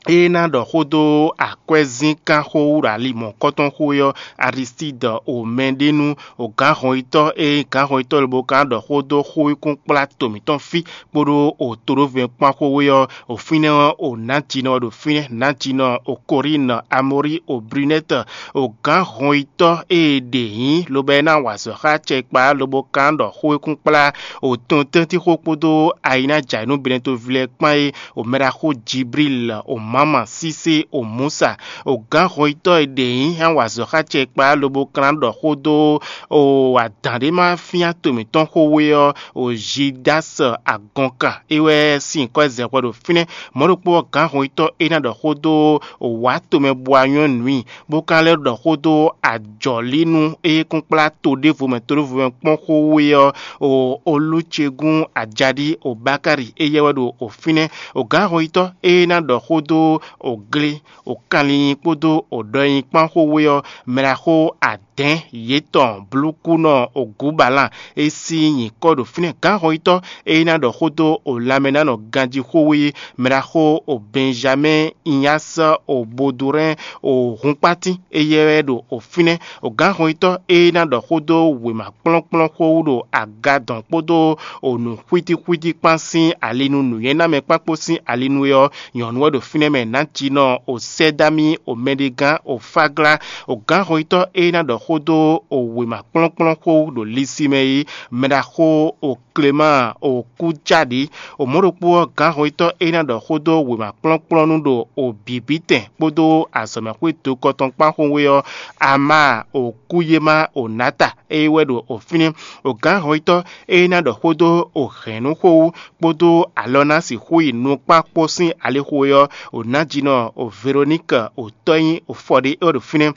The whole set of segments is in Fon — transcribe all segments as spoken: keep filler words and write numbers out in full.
é ná ɖɔ xó dó akwɛ́zínkánxó wú ɖo ali mɔ̌kɔtɔn xó é ɔ́, Aristide o mɛɖénu o gǎnhɔnyitɔ́ e gǎnhɔnyitɔ́ lobo ka ɖɔ xó dó xóyíkúnkplá to mǐtɔn fí kpódó o toɖóvɛ́nkpán xówé ɔ́, o fínɛ́ ɔ́, o nǎjínɔ ɖo fínɛ́, nǎjínɔ o Korín, Amori o Brunɛ́t, o gǎnhɔnyitɔ́ e ɖe nyǐ lobo e ná wa azɔ̌ xá acɛkpa lobo ka ɖɔ xóyíkúnkplá o tɔntɛ́ntíxó kpódó ayinájǎyinú Benɛtoví lɛ́ɛ kpán é, o mɛɖaxó Jiblíl, o mǎma sísé, o Musa, o gǎnhɔnyitɔ́ e ɖe nyǐ hɛn wa azɔ̌ xá acɛkpa lobo ka ná ɖɔ xó dó o adǎn ɖé ma fín ato mǐtɔn xówé ɔ́, o Zidási agɔnkan é wɛ sín nyǐkɔ e zɛ hwɛ ɖo fínɛ́. Mɔ̌ ɖokpó ɔ́, gǎnhɔnyitɔ́ é ná ɖɔ xó dó o wǎ tomɛ bó wá nywɛ́ nǔ i, bó ka lɛ́ ɖɔ xó dó ajɔ̌línu e kún kplá to ɖěvo mɛ to ɖěvo mɛ kpɔ́n xówé ɔ́, o Olúcegún Ajaɖí o Bákári éyɛ́ wɛ ɖo o fínɛ́. O gǎnhɔnyitɔ́ e ná ɖɔ xó dó o gle, o kanlinyi kpódó o ɖɔnyi kpán xówé ɔ́, mɛɖaxó adɛ̌n yětɔn blúkúnɔ o Gǔbalán e sín nyǐkɔ ɖo fínɛ́. Gǎnhɔnyitɔ́ e ná ɖɔ xó dó o lanmɛnánɔ ganjí xówé, mɛɖaxó o Bɛnjamɛ́n Inyásɛ o Bodurɛ́n o hunkpátín éyɛ́ wɛ ɖo o fínɛ́. O gǎnhɔnyitɔ́ e ná ɖɔ xó dó wěma kplɔ́nkplɔ́n xó wú ɖo agadɔn kpódó o nǔxwítíxwítí kpán sín ali nú nǔnywɛ́námɛ kpán kpó sín ali nú é ɔ́, nyɔ̌nu wɛ ɖo fínɛ́ mɛ nǎjínɔ o Sɛ́dámí o mɛɖegán o Fáglá. O gǎnhɔnyitɔ́ e ná ɖɔ xó dó o wěma kplɔ́nkplɔ́n xó wú ɖo Lisimɛ é, mɛɖaxó o Klemáa o Kújáɖi. O mɔ̌ ɖokpó ɔ́, gǎnhɔnyitɔ́ e ná ɖɔ xó dó wěma kplɔ́nkplɔ́nú ɖo o bǐbítɛn kpódó azɔ̌mɛxwé dokɔ tɔn kpán xówé ɔ́, Amáa o Kúyémá o Nǎta é wɛ ɖo o fínɛ́. O gǎnhɔnyitɔ́ e ná ɖɔ xó dó o hɛ̌nnu xó wú kpódó alɔ ná sixú yi nukpán kpó sín alixo é ɔ́, o nǎjínɔ o Veroník o tɔ́ nyí o Fɔɖé é wɛ ɖo fínɛ́.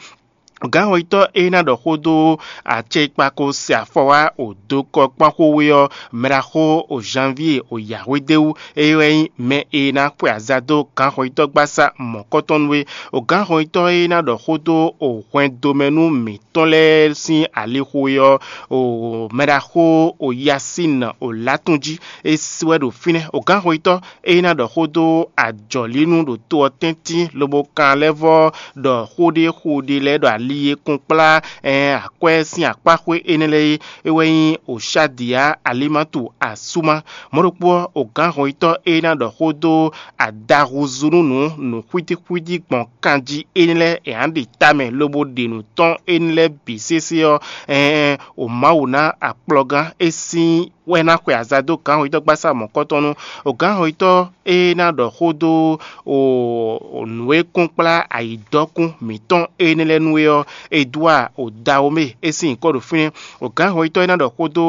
Gǎnhɔnyitɔ́ e ná ɖɔ xó dó acɛkpako se afɔ wá o dokɔ kpán xówé ɔ́, mɛɖaxó o Janvíe o Yǎhwédéwú, é wɛ nyí mɛ e ná xwe aza dó gǎnhɔnyitɔ́gbasá mɔ̌kɔtɔn nú é. O gǎnhɔnyitɔ́ e ná ɖɔ xó dó o hwɛndo mɛ nú mǐtɔn lɛ́ɛ sín alixo é ɔ́, o mɛɖaxó o Yasín o Látún jí, é wɛ ɖo fínɛ́. O gǎnhɔnyitɔ́ e ná ɖɔ xó dó ajɔ̌línu ɖo to ɔ́ tɛ́ntin lobo kan lɛ́ vɔ́ ɖɔ xó ɖé xo ɖé lɛ́ɛ ɖɔ ali e kún kplá ɛn akwɛ́ sín akpáxwé énɛ́ lɛ́ɛ é, é wɛ nyí Oxádiya Alimatu Asúma. Mɔ̌ ɖokpó ɔ́, o gǎnhɔnyitɔ́ e ná ɖɔ xó dó adaxuzúnúnǔ nǔxwítíxwítí gbɔn kanjí énɛ́ lɛ́ɛ è nǎ ɖe tamɛ lobo ɖe nǔ tɔn énɛ́ lɛ́ɛ bǐ sésé ɔ́, ɛɛn o Mawu ná akplɔgán é sín wɛ ná xwe aza dó gǎnhɔnyitɔ́gbasá mɔ̌kɔtɔn nú. O gǎnhɔnyitɔ́ e ná ɖɔ xó dó o nǔ e kún kplá ayǐdɔ́kún mǐtɔn énɛ́ lɛ́ɛ nú é ɔ́, Edwaa o Dawomé é sín nyǐkɔ ɖo fínɛ́. O gǎnhɔnyitɔ́ e ná ɖɔ xó dó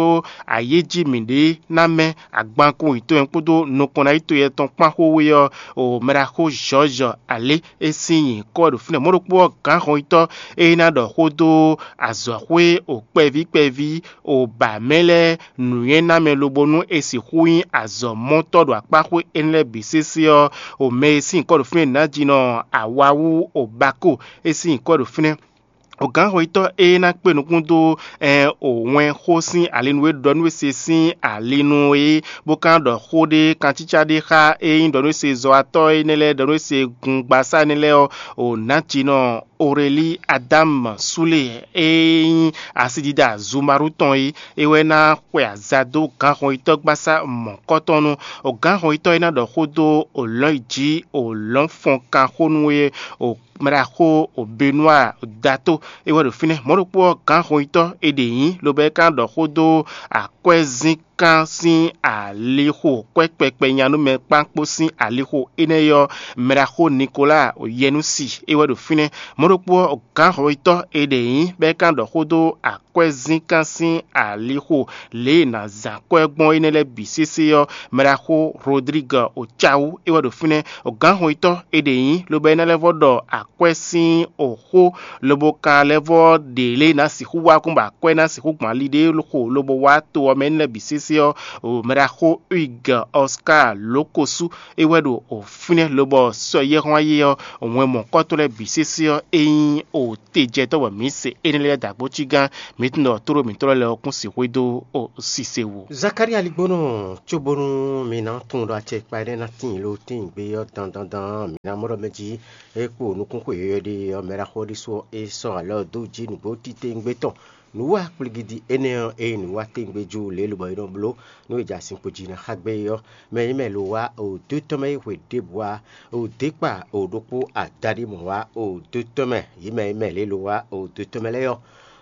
ayéjí mǐɖée ná mɛ agbankun yǐtɔn kpódó nukɔn ná yi to yɛtɔn kpán xówé ɔ́, o mɛɖaxó Jɔ́ɔ́zɔ Alé é sín nyǐkɔ ɖo fínɛ́. Mɔ̌ ɖokpó ɔ́, gǎnhɔnyitɔ́ e ná ɖɔ xó dó azɔ̌xwé o kpɛví kpɛví o ba mɛ lɛ́ɛ nǔnywɛ́námɛ lobo nú è sixú nyí azɔ̌mɔtɔ́ ɖo akpáxwé énɛ́ lɛ́ɛ bǐ sésé ɔ́, o mɛ e sín nyǐkɔ ɖo fínɛ́ nǎjínɔ Awawú o Bakó é sín nyǐkɔ ɖo fínɛ́. O gǎnhɔnyitɔ́ e ná kpé nukún dó ɛn o wɛn xó sín alinu e ɖɔ nú we se sín alinu é, bó ka ɖɔ xó ɖé kancícá ɖé xá e nyí ɖɔ nú we se zɔwatɔ́ énɛ́ lɛ́ɛ ɖɔ nú we se gungbasá énɛ́ lɛ́ɛ ɔ́, o nǎjínɔ Orelí Adámu Súle e nyí asidida Zumaru tɔn é, é wɛ ná xwe aza dó gǎnhɔnyitɔ́gbasá mɔ̌kɔtɔn nu. O gǎnhɔnyitɔ́ e ná ɖɔ xó dó o lɔ̌n yi jí o lɔ̌n fɔn kan xó nú é, o mɛɖaxó o Benúa Dato é wɛ ɖo fínɛ́. Mɔ̌ ɖokpó ɔ́, gǎnhɔnyitɔ́ è ɖe nyǐ, lobo é ka ɖɔ xó dó akwɛ́zínkán sín alixo kwɛ́ kpɛkpɛ nyanúmɛ kpán kpó sín alixo énɛ́ ɔ́, mɛɖaxó Nikoláa o Yɛnúsi é wɛ ɖo fínɛ́. Mɔ̌ ɖokpó ɔ́, gǎnhɔnyitɔ́ è ɖe nyǐ, bɔ é ka ɖɔ xó dó akwɛ́zínkán sín alixo lě e è nǎ zán kwɛ́ gbɔn énɛ́ lɛ́ɛ bǐ sésé ɔ́, mɛɖaxó Rodrigue o Cawu é wɛ ɖo fínɛ́. Gǎnhɔnyitɔ́ è ɖe nyǐ, lobo é ná lɛ́ vɔ́ ɖɔ akwɛ́ sín oxó, lobo ka lɛ́ vɔ́ ɖe lě e è nǎ sixú wa kún bɔ akwɛ́ ná sixú gbɔn ali ɖé xo lobo wá to ɔ́ mɛ énɛ́ lɛ́ɛ bǐ sésé. se ɔ́, o mɛɖaxó Hugues Oscar Lókosú é wɛ ɖo o fínɛ́ lobɔ sɔ yɛ́hɔ́n ayé ɔ́, wɛn mɔ̌kɔ́tɔn lɛ́ɛ bǐ sésé ɔ́, é nyí o tejɛtɔ́ bɔ mǐ se énɛ́ lɛ́ɛ dó agbócígán mǐtɔn ɖɔ tóɖó mǐtɔn lɛ́ɛ ɔ́ kún sixú dó o sise wú. Zakalía ligbónɔ, cóbónú mi ná tunwun ɖɔ acɛ kpa énɛ́ ná tíin ló tíin gbé ɔ́ dandandan, mi ná mɔ ɖɔ mɛ jí é kpo nukúnxwe yɔyɔ́ ɖe ɔ́, mɛɖaxó ɔ́ ɖésú ɔ́, é sɔ́ alɔ dó jí nǔgbó titewungbe tɔn. Nǔwa kplígídi énɛ́ ɔ́, ényí nǔwa tɛ́ngbé jú lě lobɔ é nɔ bló nú è jɛ azinkpo jí ná xá gbé é ɔ́, mɛ e mɛ lo wá o dó tɔn mɛ é hwe ɖěbǔ ǎ, o dě kpa o ɖokpó adaɖé mɔ̌ wá o dó tɔn mɛ, yě mɛ e mɛ lě lo wá o dó tɔn mɛ lɛ́ɛ ɔ́,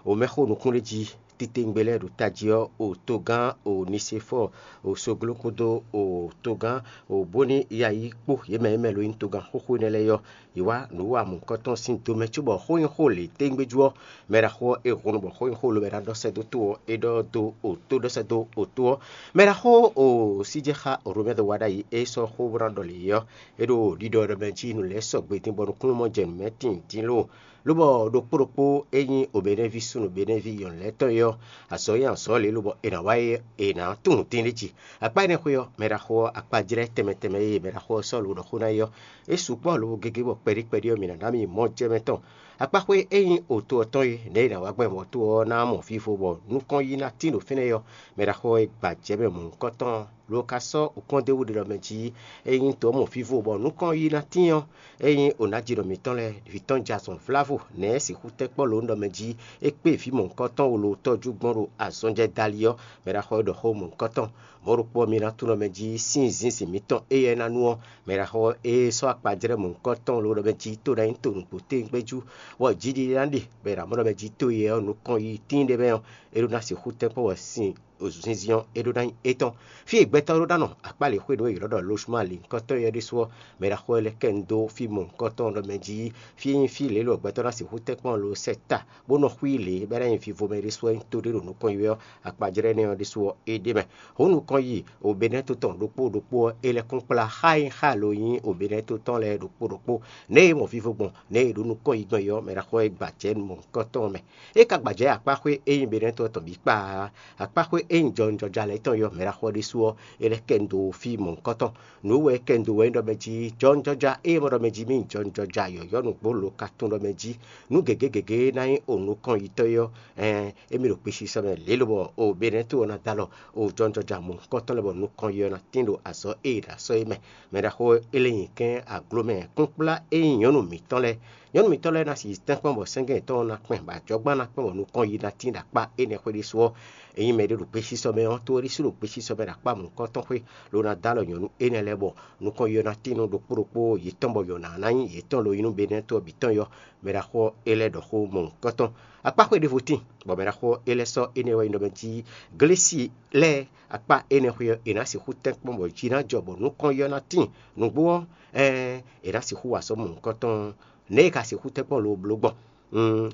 o mɛxó nukúnɖéjí titewungbe lɛ́ɛ ɖo tají ɔ́, o togán o Nisefɔ́ɔ, o Sogló kpódó o togán o Bóníyayi kpó, yě mɛ e mɛ lo nyí togán xóxó énɛ́ lɛ́ɛ ɔ́, yě wá nǔ wa mɔ̌hunkɔtɔn sín do mɛ cóbɔ xó nyí xó lě tégbéjú ɔ́, mɛ ɖaxó ɔ́, é hun bɔ xó nyí xó lobɔ é ná ɖɔ sɛ́ dó tó ɔ́, é ɖɔ dó o tó ɖɔ sɛ́ dó o tó ɔ́. Mɛ ɖaxó o síjɛxá Romɛ́ wá ɖ'ayǐ é sɔ́ xó bó ná ɖɔ lě é ɔ́, é ɖo ɖiɖɔ ɖɔ mɛ jí nǔ lɛ́ɛ sɔgbe dín bɔ nukúnnú mɔ jɛ nǔ mɛ tíin dín lóo. Lobɔ ɖokpó ɖokpó e nyí Obɛnɛ́ví súnnu Benɛ́ví yɔ̌nu lɛ́ɛ tɔn é ɔ́, azɔ̌ nyí azɔ̌ lě lobɔ è nǎ wá é è nǎ tunwun dín ɖ'é jí. Akpá énɛ́ xwé ɔ́, mɛ ɖaxó ɔ́, akpájlɛ́ tɛnmɛ tɛnmɛ e mɛ ɖaxó ɔ́ sɔ́ lo ɖɔ xó ná é ɔ́, é sukpɔ́ lobo gégé bɔ kpɛɖí kpɛɖí ɔ́, mǐ ná ná mì mɔ jɛ mɛ tɔn. Akpáxwé e nyí oto ɔ́ tɔn é, nɛ̌ è nǎ wá gbɛn mɔ̌to ɔ́ ná mɔ vivo bɔ nukɔn yí ná tín ɖo fínɛ́ é ɔ́, mɛ ɖaxó ɔ́, é gba jɛ mɛ mɔ̌hunkɔtɔn lo ka sɔ́ wǔkɔ́n d'é wú ɖe ɖɔ mɛ jí é nyí to ɔ́ mɔ vivo bɔ nukɔn yí ná tín ɔ́, é nyí onájínɔ mǐtɔn lɛ́ɛ, vǐ tɔn jɛ azɔn vlávo, nɛ̌ é sixú tɛ́ kpɔ́ lǒ ɖɔ mɛ jí é kpé vǐ mɔ̌hunkɔtɔn wolo tɔ́jú gbɔn ɖo azɔn jɛ dali ɔ́, mɛ ɖaxó ɔ́ ɖɔ xó mɔ̌hunkɔtɔn. Mɔ̌ ɖokpó ɔ́, mi ná tunwun ɖɔ mɛ jí sín zinzin mǐtɔn éyɛ́ ná nu ɔ́, mɛ ɖaxó ɔ́, é sɔ́ akpajlɛ́ mɔ̌hunkɔtɔn lǒ ɖɔ mɛ jí tó ná nyí to nǔgbó tégbéjú, bɔ jiɖiɖe ná ɖe, bɔ è nǎ mɔ ɖɔ mɛ jí to yɛ ɔ́ nukɔn yí tíin ɖé mɛ ɔ́, é ɖó ná sixú tɛ́ kpɔ́ bɔ sin zinzin ɔ́, é ɖó ná nyí étɔn. Fí e gbɛtɔ́ ɖó ná nɔ akpá lě xwé ɖě è ylɔ́ ɖɔ Losuma lǐnkɔtɔn é ɔ́ ɖésú ɔ́, mɛ ɖaxó ɔ́ lɛ́ kɛ nu dó fí mɔ̌hunkɔtɔn ɖɔ mɛ jí fí e nyí fí lě lɔ gbɛtɔ́ ná sixú tɛ́nkpɔ́n lo sɛ ta, bó nɔ xwí lě bɔ é ná nyí vivo mɛ ɖésú ɔ́ nyí to ɖé ɖo nukɔn yi wɛ ɔ́, akpajlɛ́ énɛ́ ɔ́ ɖésú ɔ́, é ɖ'é mɛ. Hǔn nukɔn yi Obɛ́nɛ́to tɔn ɖokpó ɖokpó ɔ́, é lɛ́ kún kplá xá e nyí xá lo nyí Obɛ́nɛ́to tɔn lɛ́ɛ ɖokpó ɖokpó, nɛ̌ e mɔ vivo gbɔn, nɛ̌ e ɖo nukɔn yi gbɔn é ɔ́, mɛ ɖaxó ɔ́ é gbajɛ mɔ̌hunkɔtɔn mɛ. É ka gbajɛ akpáxwé e nyí Benɛ́to ɔ́ tɔn bǐ kpa ǎ. Akpáxwé e nyí jɔwunjɔja lɛ́ɛ tɔn é ɔ́, mɛ ɖaxó ɔ́ ɖésú ɔ́, é lɛ́ kɛ nu dó fí mɔ̌hunkɔtɔn. Nǔ wɛ é kɛ nu dó wɛ é nyí ɖɔ mɛ jí jɔwunjɔja e mɔ ɖɔ mɛ jí mì jɔwunjɔja yɔ̌yɔ́ nǔgbó lo ka tunwun ɖɔ mɛ jí nǔ gěgé gěgé ná nyí o nukɔn yitɔ́ é ɔ́, ɛɛn, émí ɖo kpisisɔ mɛ lě lobɔ o Benɛ́to ɔ́ ná dó alɔ o jɔwunjɔja mɔ̌hunkɔtɔn lɛ́ɛ bɔ nukɔn yi ɔ́ ná tín ɖo azɔ̌ e è ɖo asɔ é mɛ. Mɛ ɖaxó ɔ́, é lɛ́ nyi kɛ́n aglo mɛ kplɔ́nkplɔ́n e nyí nyɔ̌nu mǐtɔn lɛ́ɛ. Nyɔ̌nu mǐtɔn lɛ́ɛ ná si tɛ́nkpɔ́n bɔ sɛ́ngɛ́ yětɔn ná kpɛn bɔ ajɔ̌gbán ná kpɛn bɔ nukɔn yi ná tín ɖo akpá énɛ́ xwé ɖésú ɔ́, ényí mɛɖé ɖo gbesisɔ mɛ ɔ́, to ɔ́ ɖésú ɖo gbesisɔ mɛ ɖo akpá mɔ̌hunkɔtɔn xwé, ló ná dó alɔ nyɔ̌nu énɛ́ lɛ́ɛ bɔ nukɔn yi ɔ́ ná tín nú ɖokpó ɖokpó yětɔn bɔ yɔ̌ná ná nyí yětɔn lo nyí nú Benɛ́to ɔ́ bǐ tɔn yɔ́. Mɛ ɖaxó ɔ́, é lɛ́ ɖɔ xó mɔ̌hunkɔtɔn. Akpáxwé ɖěvo tíin, bɔ mɛ ɖaxó ɔ́, é lɛ́ sɔ́ énɛ́ wɛ nyí ɖɔ mɛ jí Glesi lɛ́ɛ akpá énɛ́ xwé ɔ́, è nǎ sixú tɛ́nkpɔ́n bɔ jǐ ná jɔ bɔ nukɔn yi ɔ́ ná tíin. Nǔgbó ɔ́, ɛɛn, è nǎ sixú wa azɔ̌ mɔ̌hunkɔtɔn. Nɛ̌ è ka sixú tɛ́nkpɔ́n lobo bló gbɔn?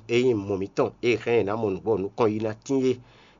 Ényí mɔ mǐtɔn e hɛn è nǎ mɔ nǔgbó ɔ́ nukɔn yi ná tíin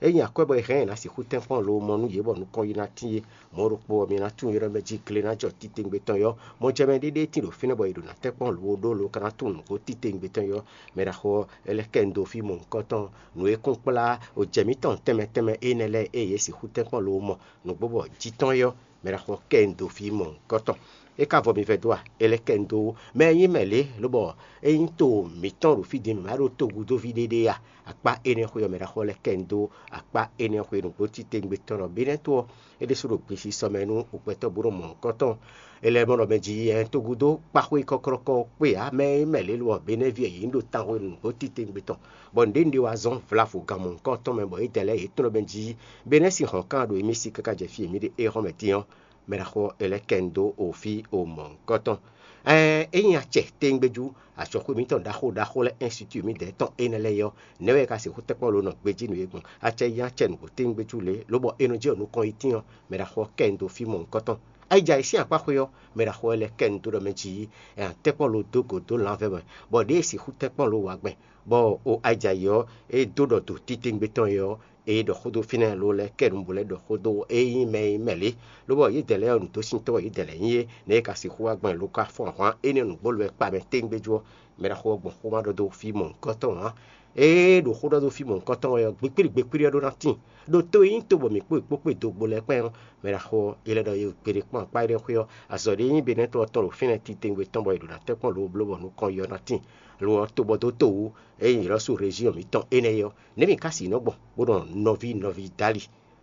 é, ényí akwɛ́ bɔ è hɛn è nǎ sixú tɛ́nkpɔ́n lobo mɔ nú yě bɔ nukɔn yi ná tíin é, mɔ̌ ɖokpó ɔ́, mi ná tunwun ylɔ́ mɛ jí gle ná jɔ titewungbe tɔn yɔ́. Mɔjɛmɛ ɖé ɖé tíin ɖo fínɛ́ bɔ è ɖo ná tɛ́nkpɔ́n lobo ɖó lo ka ná tunwun nǔgbó titewungbe tɔn yɔ́. Mɛ ɖaxó ɔ́, é lɛ́ kɛ nu dó fí mɔ̌hunkɔtɔn. Nǔ e kún kplá o jɛ mǐtɔn tɛnmɛ tɛnmɛ énɛ́ lɛ́ɛ e yě sixú tɛ́nkpɔ́n lobo mɔ nǔgbó bɔ jǐ tɔn é ɔ́, mɛ ɖaxó ɔ́ kɛ nu dó fí mɔ̌hunkɔtɔn. É ka vɔ mi vɛ́ dó a? É lɛ́ kɛ nu dó mɛ e nyí mɛ lě, lobɔ é nyí to mǐtɔn ɖo fí din mǐ ma ɖó togúdóví ɖéɖé a? Akpá énɛ́ xwe ɔ́, mɛ ɖaxó lɛ́ kɛ nu dó akpá énɛ́ xwe nǔgbó titewungbe tɔn ɖɔ Benɛ́to ɔ́, é ɖésú ɖo gbesisɔ mɛ nú gbɛtɔ́ bó nɔ mɔ nǔkɔntɔn. É lɛ́ mɔ ɖɔ mɛ jí ɛ togúdó kpáxwé kɔ́klɔ́kɔ́ kpé ǎ, mɛ e nyí mɛ lě, lobɔ Benɛ́ví ɔ́, yě nyí ɖo tanhwe nǔgbó titewungbe tɔn, bɔ nǔɖé nǔɖé wá zɔ́n vlavo gan mɔ̌hunkɔtɔn mɛ, bɔ yědɛɛ lɛ́ɛ yě tunwun ɖɔ mɛ jí Benɛ́ sín hɔ̌nkan ɖo émí sí káká jɛ fí e mǐ ɖe é hɔn mɛ din ɔ́, mɛ ɖaxó ɔ́, é lɛ́ kɛ nu dó o fí o mɔ̌hunkɔtɔn. Ɛɛn, ényí acɛ téńgbéjú azɔ̌xwé mǐtɔn ɖaxó ɖaxó lɛ́ɛ ɛ́nsitu mǐdɛɛ tɔn énɛ́ lɛ́ɛ é ɔ́, nɛ̌ wɛ è ka sixú tɛ́nkpɔ́n lo nɔ gbejí nú yě gbɔn? Acɛ nyí acɛ nǔgbó téńgbéjú lě, lobɔ è nɔ jɛ nukɔn yi tíin ɔ́, mɛ ɖaxó ɔ́ kɛ nu dó fí mɔ̌hunkɔtɔn. Ayija e sín akpá xwe ɔ́, mɛ ɖaxó ɔ́ lɛ́ kɛ nu dó ɖɔ mɛ jí è nǎ tɛ́nkpɔ́n lo dó go dó lanvɛ́ mɛ, bɔ ɖěe è sixú tɛ́nkpɔ́n lo wá gbɛn, bɔ o ayija yi ɔ́, é dó ɖɔ do titewungbe tɔn é ɔ́, é ɖɔ xó dó fínɛ́ lo lɛ́ kɛ nu bó lɛ́ ɖɔ xó dó ényí mɛ e nyí mɛ lě, lobɔ yědɛɛ lɛ́ɛ ɔ́, nǔdósíntɔ́ wɛ yědɛɛ lɛ́ɛ nyí é, nɛ̌ è ka sixú wá gbɔn lo ka fɔ́n ahwan énɛ́ nǔgbó lo wɛ kpa mɛ téńgbéjú ɔ́, mɛ ɖaxó ɔ́ gbɔn xó ma ɖɔ dó fí mɔ̌hunkɔtɔn ǎ. Ée ɖo xó ɖɔ dó fí mɔ̌hunkɔtɔn wɛ ɔ́, gbikpíɖi gbikpíɖi ɔ́ ɖó ná tíin. Ɖo to e nyí to bɔ mǐ kpó è kpó kpé dogbo lɛ́ɛ kpán ɔ́, mɛ ɖaxó ɔ́, è lɛ́ ɖɔ yě gbeɖé kpɔ́n akpá énɛ́ xwé ɔ́, azɔ̌ ɖé nyí Benɛ́tɔ́ ɔ́ tɔn ɖo fínɛ́ titewungbe tɔn bɔ è ɖǒ ná tɛ́nkpɔ́n lǒ bló bɔ nukɔn yi ɔ́ ná tíin. Lo ɔ́, to bɔ dó to wú, ényí è lɔ́ sú rezyɔn mǐtɔn énɛ́ é ɔ́, nɛ̌ mǐ ka sixú nɔ gbɔn bó nɔ nɔví nɔví dó ali,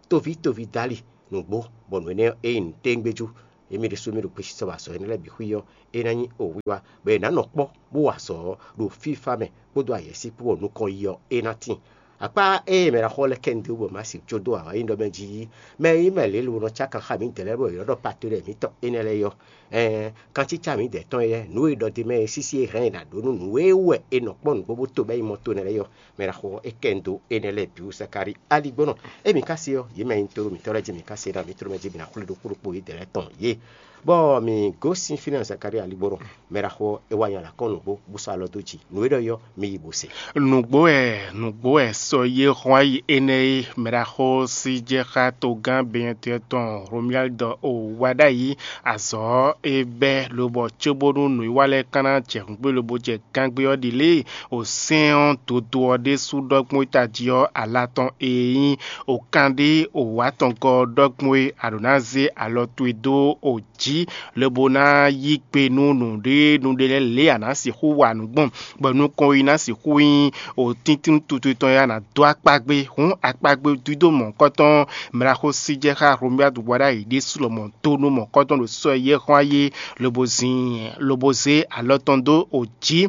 tóví tóví dó ali nǔgbó, bɔ nǔ énɛ́ ɔ́, é nyí nǔtɛ́ngbéjú. Émí ɖésú mì ɖo gbesisɔ wa azɔ̌ énɛ́ lɛ́ɛ bǐ xwí ɔ́, é ná nyí owíwá, bɔ è nǎ nɔ kpɔ́ bó wa azɔ̌ ɔ́ ɖo fífá mɛ kpódó ayɛ̌sí kpó bɔ nukɔn yi ɔ́, é ná tíin. Akpá ée mɛ ɖaxó lɛ́ɛ kɛ nu dó bɔ Mawu sixú dó awǎyíɖɔ mɛ jí, mɛ e nyí mɛ lěle bo nɔ cá kan xá mǐdɛɛ lɛ́ɛ bɔ è nɔ ɖɔ patolɛ mǐtɔn énɛ́ lɛ́ɛ é ɔ́, ɛɛn, kancícá mǐdɛɛ tɔn éyɛ́, nǔ e è ɖɔ d'é mɛ é sísí e hɛn è nǎ ɖó nú nǔ e wɛ è nɔ kpɔ́n nǔgbó bó to bɛ́ yi mɔ to nɛ́ lɛ́ɛ é ɔ́, mɛ ɖaxó ɔ́, é kɛ nu dó énɛ́ lɛ́ɛ bǐ wú Zakalíi aligbɔnɔ. Émí ka se ɔ́, yě mɛ e nyí tóɖó mǐtɔn lɛ́ɛ jí mǐ ka se ná mǐ tló mɛ jí mǐ ná xwlé ɖokpó ɖokpó yědɛɛ lɛ́ɛ tɔn yě. Bɔ mǐ gosín fínɛ́ Zakalíi aligbɔnɔ, mɛ ɖaxó ɔ́, é wá nya lǎ kɔn nǔgbó, bó sɔ́ alɔ dó jǐ. Nǔ e ɖɔ é ɔ́, mi yi bó se. Nǔgbó wɛ nǔgbó wɛ sɔ yé hɔn ayi énɛ́ é, mɛ ɖaxó sí jɛ xá togán Benyɛtɔ́ tɔn Romyaldi ɔ́ wá ɖ'ayǐ. Azɔ̌ ɔ́, é bɛ́ lobɔ cóbónú nǔwiwa lɛ́ɛ ka ná jɛ hǔngbé lobo jɛ gangbé ɔ́ ɖi lě e wǒ sɛ́n ɔ́ dodo ɔ́ ɖésú ɖɔ gbɔn é tají ɔ́, ala tɔn e nyí wǒ kanɖé wǒ wá tɔn gɔ́ ɔ́ ɖɔ gbɔn é, a ɖǒ ná zé alɔ towe dó wǒ jí, lobo ná yí gbe nú nǔɖé nǔɖé lɛ́ɛ lě e a nǎ sixú wa nǔ gbɔn, bɔ nukɔn yi ná sixú nyí wǒ tíntín tutu tɔn e a nǎ dó akpá gbé. Hǔn akpá gbé dídó mɔ̌hunkɔtɔn mlaxó sí jɛ xá Hlomyadu wá ɖ'ayǐ ɖésú lɔmɔ̌ dó nú mɔ̌hunkɔtɔn ɖo sɔ́ e yɛ́ xɔ́n ayé, lobo zin lobo zé alɔ tɔn dó wǒ jí,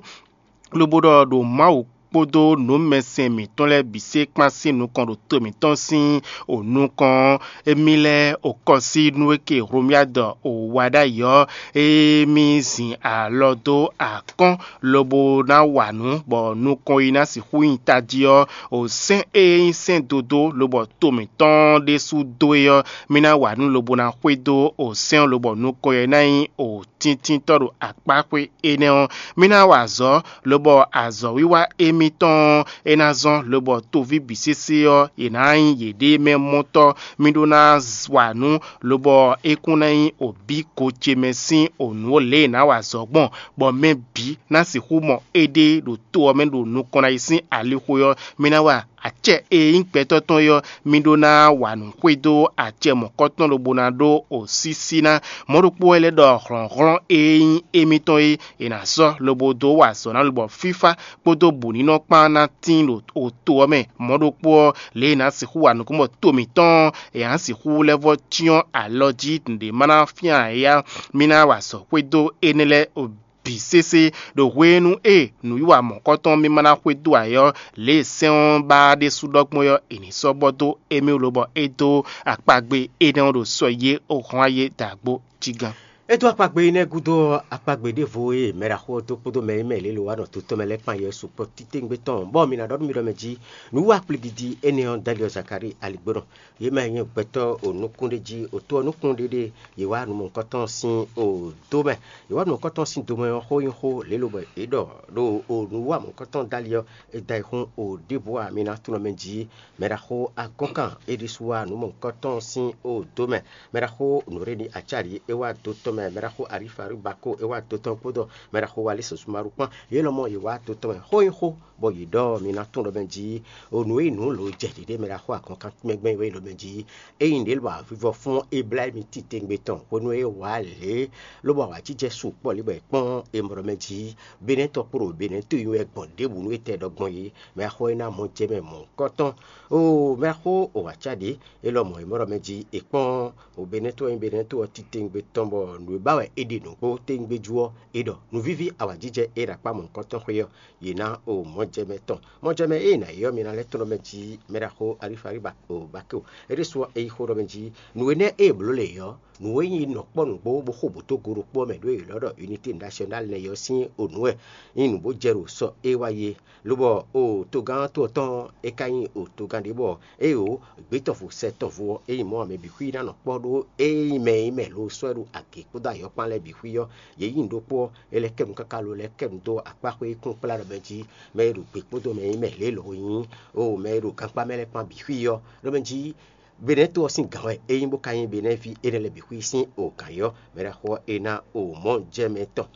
lobo ɖɔ ɖo Mawu kpódó nǔmɛsɛn mǐtɔn lɛ́ɛ bǐ sé kpán sín nukɔn ɖo to mǐtɔn sín o nukɔn ɔ́, émí lɛ́ɛ o kɔ sí nú é ke Hlomyadu o wa ɖ'ayǐ ɔ́, émí zin alɔ dó akɔ́n lobo ná wa nǔ, bɔ nukɔn yi ná sixú nyi tají ɔ́, o sɛ́n e nyí sɛ́n dodó lobɔ to mǐtɔn ɖésú dó é ɔ́, mì ná wa nǔ lobo ná xwedó o sɛ́n ɔ́, lobɔ nukɔn yi ná nyí o tíntínntɔ́ ɖo akpáxwé énɛ́ ɔ́. Mì ná wa azɔ̌, lobɔ azɔ̌wiwa émítɔn ɔ́, é ná zɔ́n, lobɔ toví bǐ sésé ɔ́, yě ná nyí yěɖée mɛ mɔtɔ́. Mì ɖó ná wa nǔ, lobɔ é kún ná nyí obǐ ko ce mɛ sín o nǔ lě e è nǎ wa azɔ̌ gbɔn, bɔ mɛ bǐ ná sixú mɔ éɖée ɖo to ɔ́ mɛ ɖo nukɔn ná yi sín alixo ɔ́. Mì ná wa acɛ e nyí gbɛtɔ́ tɔn é ɔ́, mì ɖó ná wa nǔ xwedó acɛ mɔ̌kɔtɔn lobo ná ɖó osísí ná. Mɔ̌ ɖokpó wɛ lɛ́ ɖɔ hlɔ̌nhlɔ́n e nyí émítɔn é, è nǎ sɔ́ lobo dó wa azɔ̌ ná lobɔ fífá kpódó bǔnínɔ kpán ná tín ɖo to ɔ́ mɛ. Mɔ̌ ɖokpó ɔ́, lě e è nǎ sixú wa nukúnnú bɔ to mǐtɔn ɔ́, è nǎ sixú lɛ́ vɔ́ cyɔ́n alɔ jí nǔɖé ma ná fyán ǎ é ɔ́, mì ná wa azɔ̌ xwedó énɛ́ lɛ́ɛ bǐ sésé. Ɖo hwenu e nǔwiwa mɔ̌kɔtɔn mímá ná xwedó ǎ é ɔ́, lě e sɛ́n ɔ́ ba ɖésú ɖɔ gbɔn é ɔ́, è nǐ sɔ́ bɔ dó émí wú lobɔ é dó akpagbe énɛ́ ɔ́ ɖo sɔ yě o hɔn ayé dǎgbó jí gán. É dó akpagbe énɛ́ gúdo ɔ́, akpagbe ɖěvo e mɛɖaxó ɔ́ dó kpódó mɛ e mɛ lě lo wa nɔ to tɔn mɛ lɛ́ɛ kpan yɛ sukpɔ́ titewungbe tɔn, bɔ mi ná ɖɔ nú mi ɖɔ mɛ jí, nǔwiwa kplígídí énɛ́ ɔ́ dó ali ɔ́ Zakalíi aligbónɔ. Yě mɛ e nyí gbɛtɔ́ o nukún ɖé jí, o to ɔ́ nukún ɖéɖé, yě wá nǔ mɔ̌hunkɔtɔn sín o dó mɛ. Yě wá nǔ mɔ̌hunkɔtɔn sín do mɛ ɔ́ xó nyí xó lě lobɔ è ɖɔ ɖo o nǔwiwa mɔ̌hunkɔtɔn dó ali ɔ́, è da yi xún o ɖěbǔ ǎ. Mi ná tunɔ mɛ jí. Mɛɖaxó agɔ́nkan é ɖésú wá nǔ mɔ̌hunkɔtɔn sín o dó mɛ. Mɛɖaxó nǔɖéɖi acáɖi é wá do tɔn mɛ. Mɛɖaxó Alifaríbako é wá do tɔn kpódó mɛɖaxó Walísɔsúmaɖu kpán. Yě lɔmɔ̌ yě wá do tɔn mɛ xó nyí xó, bɔ yě ɖɔ mi ná tunɔ mɛ jí. O nǔ e nǔ lǒ jɛ ɖěɖé mɛɖaxó agɔ́nkan mɛ gbɛ́ é wɛ nyí ɖɔ mɛ jí. Ényí ɖě lɔ avivɔ fún Ebláyími titewungbe tɔn hwenu e é wǎ lě, lobo awǎjijɛ sukpɔ́ lě bɔ è kpɔ́n è mɔ ɖɔ mɛ jí, Benɛ́tɔ́ kpó ɖo Benɛ́ to nyi wɛ gbɔn ɖěbǔ nú étɛ́ ɖɔ gbɔn é, mɛ xɔ é ná mɔ jɛ mɛ mɔ̌hunkɔtɔn. Oo, mɛ xó o wǎ cá ɖě, é lɔ mɔ è mɔ ɖɔ mɛ jí è kpɔ́n o Benɛ́tɔ́ e nyí Benɛ́tɔ́ ɔ́ titewungbe tɔn bɔ nǔ e ba wɛ è ɖe nǔgbó tewungbe jú ɔ́, è ɖɔ nǔvíví awǎjijɛ e ɖo akpá mɔ̌hunkɔtɔn xwé ɔ́, yě ná o mɔjɛmɛ tɔn. Mɔjɛmɛ e è nǎ yi ɔ́, mi ná lɛ́ tlɔ́n mɛ jí mɛ ɖaxó Alifali ba o Bakeo. É ɖésú ɔ́, é yí xó ɖɔ mɛ jí nǔ énɛ́ e è blǒ lě ɔ́, nǔ e nyí nɔ kpɔ́ nǔgbó bó xo bǔ dó go ɖokpó ɔ́ mɛ ɖó è lɔ́ ɖɔ Unité Nationale lɛ́ɛ ɔ́ sín o nǔ wɛ nyí nǔ bó jɛ ɖo sɔ e wá yi é. Lobɔ o togán to ɔ́ tɔn ɔ́, é ka nyí o togán ɖé bɔ éyo gbětɔ́vo sɛ tɔn vo ɔ́, é nyí mɔ̌ ǎ mɛ bǐ xwí ná nɔ kpɔ́ ɖó é nyí mɛ e nyí mɛ lo sɔ́ ɛ ɖo agě kpódó ayɔ́kpán lɛ́ɛ bǐ xwí ɔ́, yě nyí nǔ ɖokpó ɔ́, é lɛ́ kɛ nu káká lo lɛ́ kɛ nu dó akpá xwé kún kplá ɖɔ mɛ jí mɛ e ɖo gbe kpódó mɛ e nyí mɛ lě lo nyí o mɛ e ɖo gankpá mɛ lɛ́ɛ kpán bǐ xwí ɔ́, ɖɔ mɛ jí Benɛ́to ɔ́ sín gǎn wɛ é nyí bó ka nyí Benɛ́ví énɛ́ lɛ́ɛ bǐ xwí sín o gǎn yɔ́ mɛ ɖaxó ɔ́ é ná o mɔ̌ jɛ mɛ tɔn.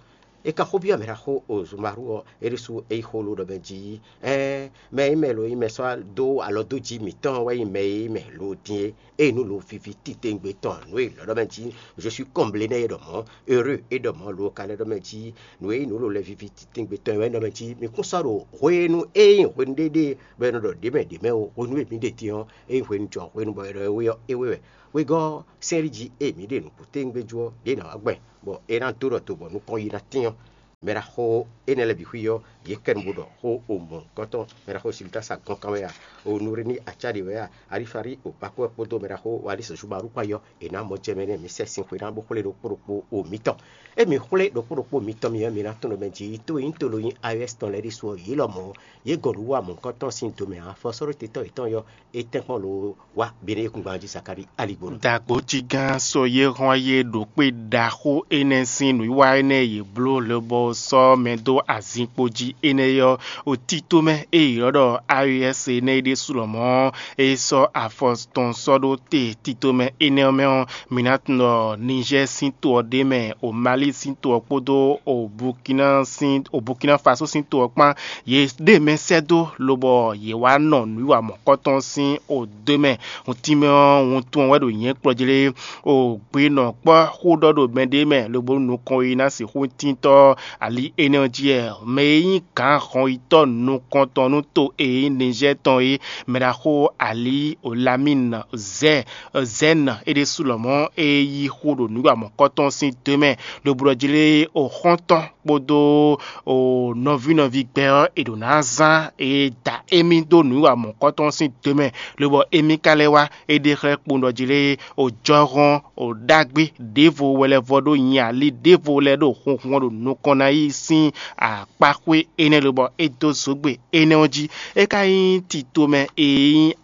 É ka xó byɔ́ mɛ ɖaxó Ozumaru ɔ́, é ɖésú é yí xó ló ɖɔ mɛ jí: Ɛɛn, mɛ e nyí mɛ lo nyí mɛ sɔ́ dó alɔ dó jí mǐtɔn wɛ nyí mɛ e nyí mɛ lo din é. Ényí nǔ lo víví titewungbe tɔn nǔ e lɔ̌ ɖɔ mɛ jí: Je suis comblé nɛ́ é ɖɔ mɔ̌, heureux é ɖɔ mɔ̌, lo ka lɛ́ ɖɔ mɛ jí: Nǔ e nyí nǔ lo lɛ́ víví titewungbe tɔn wɛ ɖɔ mɛ jí: Mi kún sɔ́ ɖo hwenu e nyí hwenu ɖéɖé bɔ è nɔ ɖɔ ɖě mɛ ɖě mɛ ó, hwenu e mǐ ɖe din ɔ́, é nyí hwenu jɔ hwenu bɔ è ɖɔ é wé ɔ́, é wé wɛ. Wegɔ́ ɔ́, sɛ́n jí e mǐ ɖe nǔ kútewungbe jú ɔ́, ɖě ná wá gbɛn, bɔ é ná dó ɖɔ do bɔ nukɔn yi ná tɛ́n ɔ́. Mɛ ɖaxó énɛ́ lɛ́ɛ bǐ xwí ɔ́, yě kɛ nu bó ɖɔ xó o mɔ̌hunkɔtɔn. Mɛ ɖaxó Silutasa gɔ́n kan wɛ a, o Nurini acá ɖě wɛ a, Alifari o Bakó wɛ kpódó mɛ ɖaxó Walísɔ Zubáru kpá yɔ, è nǎ mɔ jɛ mɛ nɛ́ mǐ sɛ sin xwe ná bó xwlé ɖokpó ɖokpó o mǐtɔn. Emi xwlé ɖokpó ɖokpó mitɔn mi ɔ́, mi ná tunwun ɖɔ mɛ jí tó e nyí to lo nyí A E S tɔn lɛ́ɛ ɖésú ɔ́, yě lɔmɔ̌ yě gɔn nǔ wa mɔ̌hunkɔtɔn sín do mɛ ǎ. Afɔsɔ́ɖótetɔ́ yětɔn yɔ é tɛ́nkpɔ́n lo wá Beneyíkúngban jí Zakalíi aligbonu. Dǎgbójígán sɔ́ yé hɔn yé ɖo kpé ɖaxó énɛ́ sín nǔwiwa énɛ́ e yě bló lobɔ sɔ́ mɛ dó azinkpo jí énɛ́ ɔ́, o tito mɛ e è ylɔ́ ɖɔ A E S énɛ́ é ɖésú lɔmɔ̌, é sɔ́ afɔ tɔn sɔ́ ɖó te tito mɛ énɛ́ ɔ́ mɛ ɔ́, mi ná tunwun ɖɔ Nizɛ́ɛ sín to ɔ́ ɖ'é mɛ, o Mali sín to ɔ́ kpódó o Bukina sín o Bukina Faso sín to ɔ́ kpán, yě ɖe mɛ sɛ́ dó, lobɔ yě wá nɔ nǔwiwa mɔ̌kɔtɔn sín o dó mɛ. Hun tínmɛ ɔ́, wuntun ɔ́ wɛ ɖo nyɛ̌ kplɔ́ jlé. O gbe nɔ kpɔ́ xó ɖɔ ɖo mɛɖé mɛ, lobo nú nukɔn e ná sixú tíntɔ́ ali énɛ́ ɔ́ jí wɛ. Mɛ e nyí gǎn hɔnyitɔ́ nukɔntɔn nú to e nyí Nizɛ́ɛ tɔn é, mɛ ɖaxó Ali Olamín Zɛ́ Zɛ́n é ɖésú lɔmɔ̌ e yí xó ɖo nǔ wa mɔ̌kɔtɔn sín dó mɛ, lobo ɖɔ jlé o xɔ́ntɔn kpódó o nɔví nɔví gbɛ ɔ́, è ɖǒ ná zán e da émí dó nǔ wa mɔ̌kɔtɔn sín dó mɛ, lobɔ émí ka lɛ́ wá é ɖe xlɛ́ kpowun ɖɔ jí lé, o jɔhɔn o ɖagbe ɖěvo wɛ lɛ́ vɔ ɖó nyi ali ɖěvo lɛ́ɛ ɖo hunhun ɔ́ ɖo nukɔn ná yi sín akpáxwé énɛ́ lobɔ é dó zǒgbe énɛ́ ɔ́ jí. É ka nyí tito mɛ e nyí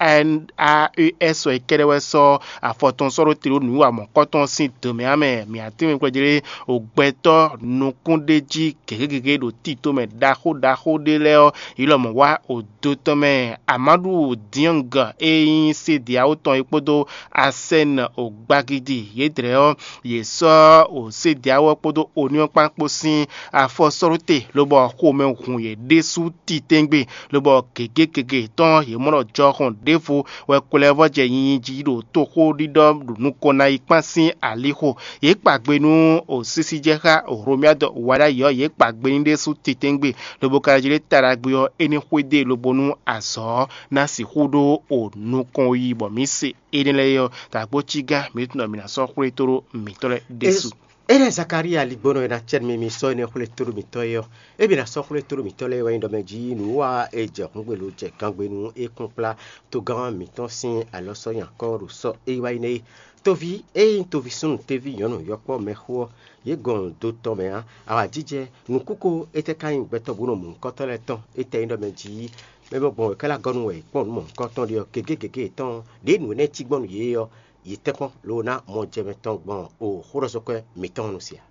A E S ɔ́ é kɛ́ɖɛ́ wɛ sɔ́ afɔ tɔn sɔ́ ɖó te ɖó nǔwiwa mɔ̌kɔtɔn sín dǒmɛ ǎ mɛ. Mǐ atínwín kplɔ́ jí lé, o gbɛtɔ́ nukúnɖéjí gěgé gěgé ɖo tito mɛ ɖaxó ɖaxó ɖé lɛ́ɛ ɔ́, yi lɔmɔ̌ wá odo tɔn mɛ. Amadu Diɔng e nyí sediawo tɔn é kpódó Asɛn o gbagidi yědrɛ́ ɔ́, yě sɔ́ o sediawo ɔ́ kpódó Oniɔn kpán kpó sín afɔ sɔ́ ɖó te, lobɔ xomɛ hun yě ɖésú titɛ́ngbé, lobɔ gěgé gěgé tɔn yě mɔ ɖɔ jɔhɔn ɖěvo wɛ kwlɛ́vɔ́ jɛ nyinyi jí ɖo toxó ɖiɖɔ ɖo nukɔn ná yi kpán sín alixo. Yě kpa gbe nú o sísí jɛ xá Hlomyád wǎɖáyi ɔ́, yě kpa gbe n'i ɖésú titɛ́ngbé, lobo ka jlé ta ɖagbe ɔ́, é ní xwedó e lobo nú azɔ̌ ɔ́ ná sixú ɖó o nukɔn yi bɔ mǐ se énɛ́ lɛ́ɛ ɔ́, dǎgbócígán mǐtɔn mǐ ná sɔ́ xwlé tó ɖó mǐtɔn lɛ́ɛ ɖésú. Énɛ́ Zakalíi aligbɔnɔ e ná cɛ nú mì mi sɔ́ énɛ́ xwlé tóɖó mǐtɔn é ɔ́, émí ná sɔ́ xwlé tóɖó mǐtɔn lɛ́ɛ wɛ nyí ɖɔ mɛ jí nǔ wa e jɛ hǔngbelo jɛ gangbe nú é kún kplá togán mǐtɔn sín alɔ sɔ́ nyi akɔ́ ɖo sɔ́ e yi wá yi nɛ́ é. Toví e nyí toví súnnu teví nyɔ̌nu yɔkpɔ́ mɛxó ɔ́, yě gɔn do tɔn mɛ ǎ. Awǎjijɛ, nǔkúko, étɛ́ ka nyí gbɛtɔ́ bó nɔ mɔ nukɔntɔn lɛ́ɛ tɔn? Étɛ́ nyí ɖɔ mɛ jí mɛ bɔ gbɔn wɛ ká lɛ́ gɔ́ nú wɛ è kpɔ́n nǔ mɔ nukɔntɔn ɖe ɔ́, gěgé gěgé yětɔn ɖě nǔ énɛ́ cí gbɔn nú yě é ɔ́, yě tɛ́nkpɔ́n ló ná mɔ jɛ mɛ tɔn gbɔn o xóɖɔzɔkwɛ́ mǐtɔn ɔ́ nu se ǎ.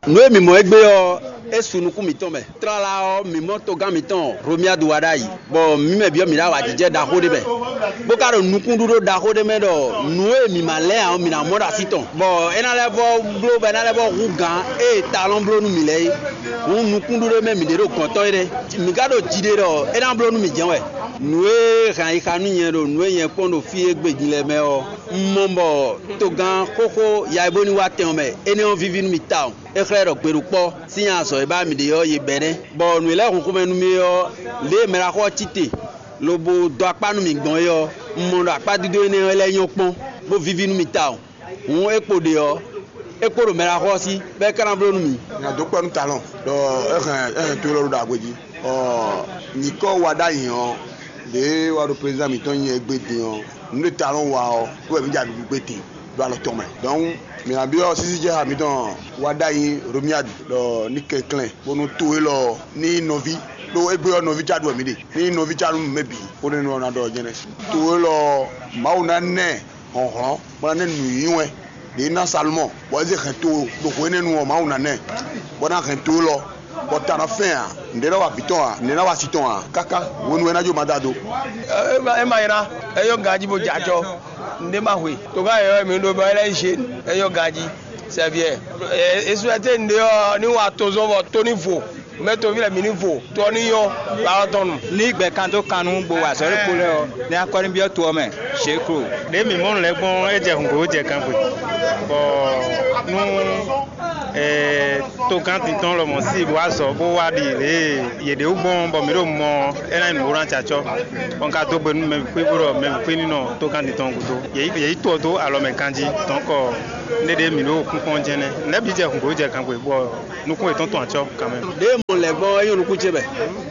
Nǔ e mǐ mɔ égbé ɔ́, é su nukún mǐtɔn mɛ. Tlala ɔ́, mǐ mɔ togán mǐtɔn Hlomyádu wá ɖ'ayǐ, bɔ mǐ mɛ bǐ ɔ́, mǐ ɖo awǎjijɛ ɖaxó ɖé mɛ, bó ka ɖo nukúnɖíɖó ɖaxó ɖé mɛ ɖɔ nǔ e mǐ ma lɛ́ ǎ ɔ́, mǐ ná mɔ ɖo así tɔn, bɔ é ná lɛ́ vɔ bló bɔ é ná lɛ́ vɔ hú gǎn e talɔn bló nú mǐ lɛ́ɛ é. Hǔn nukúnɖíɖó mɛ mǐ ɖe ɖo gɔ̌n tɔn é nɛ́. Mǐ ka ɖo ji ɖe ɖɔ é ná bló nú mǐ jɛ́n wɛ. Nǔ e hɛn ayixa nú nyɛ ɖo nǔ e nyɛ kpɔ́n ɖo fí e gbe din lɛ́ɛ mɛ ɔ́, un mɔ bɔ togán xóxó ya e bó ní wá tɛn ɔ́ mɛ, énɛ́ ɔ́ víví nú mì tawun. É xlɛ́ ɖɔ gbeɖokpɔ́ sín azɔ̌ e ba mì ɖe ɔ́, yě bɛ́ nɛ́, bɔ nǔ e lɛ́ hun xomɛ nú mì ɔ́, lě e mɛɖaxó ɔ́ cí te, lobo dó akpá nú mì gbɔn é ɔ́, un mɔ ɖɔ akpá dídó énɛ́ ɔ́ lɛ́ nyɔ́ kpɔ́n, bó víví nú mì tawun. Hǔn é kpo ɖe ɔ́, é kpo ɖo mɛɖaxó ɔ́ sí, bɔ é ka ná bló nú mì. Nya dó kpɔ́ nú talɔn ɖɔ é hɛn é hɛn to élɔ́ ɖo ɖagbe jí. Ɔ, nyǐkɔ wa ɖ'ayǐ ɔ́, ɖě wá ɖo prezidán mǐtɔn nyi égbé din ɔ́, nǔ e talɔn wa ɔ́, wɛ mǐ ja ɖuɖu gbé din ɖo alɔ tɔn mɛ. Dɔnku, mǐ ná byɔ́ sísí jɛ ha mǐtɔn wa ɖ'ayǐ Romiadi ɖɔ ní kɛnklɛ́n bónú to élɔ́ ní nyí nɔví, ɖó égbé ɔ́ nɔví cá ɖu wɛ mǐ ɖe. Ní nyí nɔví cá nú mɛ bǐ, bónú é nɔ ná ɖɔ jɛ́nɛ́. To élɔ́, Mawu ná ná ɛ hlɔ̌nhlɔ́n, bó ná ná ɛ nǔnywɛ́ ɖě ná Salomɔ́ɔ, bɔ é zé hɛn to ɖo hwe énɛ́ nu ɔ́, Mawu ná ná ɛ, bó ná hɛn to élɔ́, bɔ ta ná fɛ́n ǎ, nǔɖé ná wa vǐ tɔn ǎ, nǔɖé ná wa si tɔn ǎ, káká hwenu e é ná jó ma da do. É ma é ma nylá, é nyɔ́ ganjí bó jɛ acɔ, nǔɖé ma hwe. Togán yɔ̌yɔ́ e mǐ ɖó bɔ é lɛ́ nyí Zhéni, é nyɔ́ ganjí. Sɛbiɛ, esúɛte nɖe ɔ́ ní wa tozɔ́n bɔ tó ní vo, mɛ toví lɛ mǐ ní vo, tó ɔ́ ní nyɔ́, ba ɔ́ tɔn nu. Ní gbɛ̌ kan dó kan nú gbo wa azɔ̌ ɖokpó lɛ́ɛ ɔ́, ní akɔ́ ní byɔ́ to ɔ́ mɛ. Ṣěklo. Ɖě mǐ mɔ nǔ lɛ́ɛ gbɔn é jɛ hǔngbó jɛ gangbe, bɔ nú togán tintɔn lɔmɔ̌ sí bó wá zɔ bó wá ɖi lě e yě ɖe wú gbɔn bɔ mǐ ɖo mɔ ɔ́, é ná nyí nǔ bó ná jɛ acɔ́. Bɔ un ka dó gbe nú mɛ bǐ xwé bó ɖɔ mɛ bǐ xwé ní nɔ togán tintɔn gúdo. Yě yí tɔ dó alɔ mɛ ganjí, dɔ̌nkɔ nɖéɖé mǐ ɖo kúnkún ɔ́ jɛ́n nɛ́. Nɛ̌ bǐ jɛ hǔngbó jɛ gangbe, bɔ nukún yětɔn tɔn acɔ́ kanmɛ. Ɖěe mɔ lɛ̌ gbɔn ɔ́, é nyɔ́ nukún ce mɛ,